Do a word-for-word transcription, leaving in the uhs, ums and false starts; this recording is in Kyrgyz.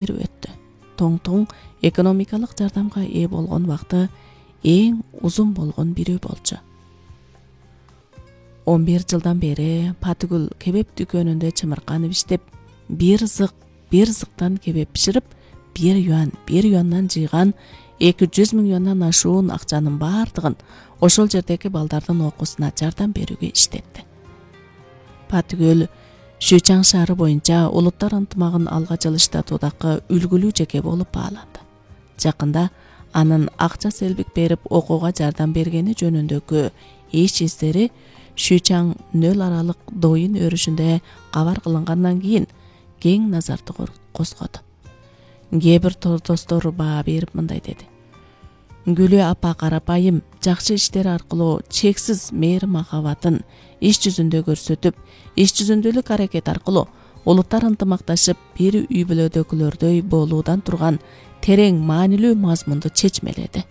берип өттү. Тоң-тоң экономикалык жардамга ээ болгон убакты эң узун болгон бирөө болчу. он бир жылдан бери Патыгүл кебеп дүкөнүндө чымырканып иштеп, бир зык, бир зыктан кебеп биширип, бир юан, бир юандан жыйган эки жүз миң юандан ашуун акчанын бардыгын ошол жердеги балдардын окуусуна жардам берүүгө иштетти. Патыгүл Шүчаң шаары боюнча улуттар ынтымагын алга жылыштатуудагы үлгүлүү жеке болуп бааланды. Жакында анын акча селбик берип окууга жардам бергени жөнүндөгү эч издери Шүчаң нөл аралык доюн өрүшүндө кабар кылынгандан кийин кең назарды козгоду. Кээ бир достор баа берип мындай деди: Гүлү апа карапайым жакшы иштери аркылуу чексиз мээри махабатын иш жүзүндө көрсөтүп, иш жүзүндөлүк аракет аркылуу улуттар ынтымакташып бир үй бүлөдөгүлөрдөй болуудан турган терең маанилүү мазмунду чечмеледи.